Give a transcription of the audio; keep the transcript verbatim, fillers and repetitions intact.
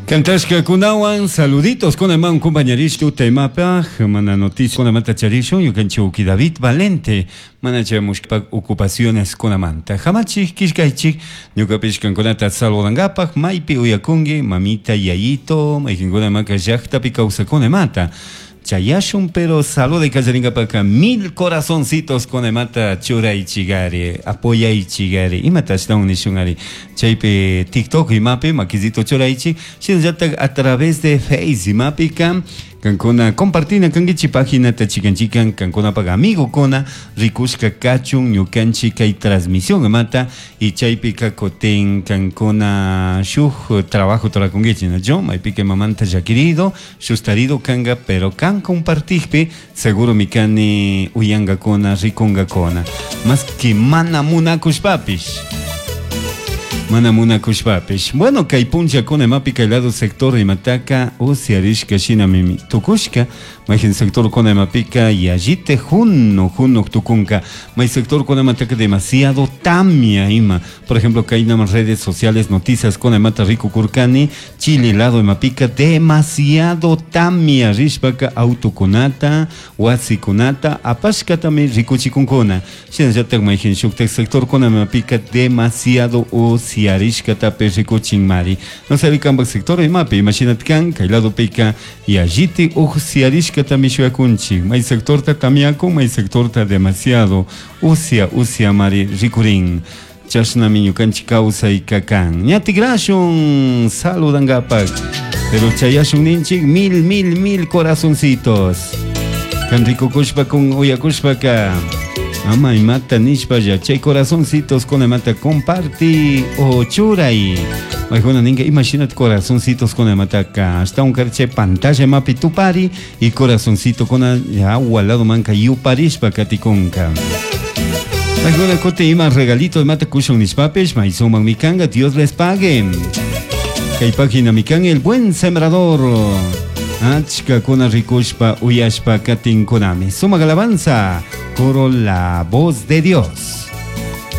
Cantashkakunawan saluditos kunaman compañerishku temapaj mana noticia kunamanta charishun ñukanchik David Valente mana chayamushpak ocupaciones kunamanta hamachik killkaychik ñukapish kankunata saludankapak maypi uyakunki mamita yayito mayqinkunamaka llaqtapi kawsakunamanta chayashun pero salude kallarinkapaka mil corazoncitos kunamata churaychikari apoyaychikari imata ashtawan nishunari chaypi TikTok imapi makisito churaychik shinallatak a través de Face imapika kankuna compartina kankichik paginata chikan chikan kankunapak amigokuna rikushka kachun ñukanchik kay transmisión imata y chaypika kutin kankuna shuk trabajo rurakunkichik nachu maypika imamanta llakirido shustarido kanka pero kan compartikpi seguro mi kani uyankakuna rikunkakuna más que mana munakushpapish mana munakushpapish bueno kay punllakuna imapi kay lado sector imataka usyarishka shinami tukushka mayjin sector kuna imapika yallite juno juno tukunka may sector kuna imataka demasiado tamia ima por ejemplo kay nama redes sociales noticias kuna imata rikukurkani Chile lado imapika demasiado tamia rishpaka autokunata wasikunata apashkatami rikuchikunkuna shinallatak mayjin shuktak sector kuna imapika demasiado usyarishkatapish rikuchinmari no sé kanpak sector imapi imashinatkan kay ladopika yalliti usyarishkatami shuyakunchik may sectorta tamiakun may sectorta demasiado usya usyamari rikurin chashnami ñukanchik kawsayka kan ña tikrashun saludankapak pero chayashun ninchik mil mil mil corazoncitos kan rikukushpa kun uyakushpaka ama imata nishpalla chay corazoncitos kunamata comparti o churay maykuna ninka imashinat corazoncitos kunamataka ashtawan chay pantalla mapi tupari y corazoncito kuna agua lado manka yuparishpa katikunka Maykuna kuti ima regalito imata kushun nishpapish maysuman mikanga Dios les pague kay página mikan el buen sembrador achka kuna rikushpa uyashpa katinkunami sumak alabanza coro la voz de Dios.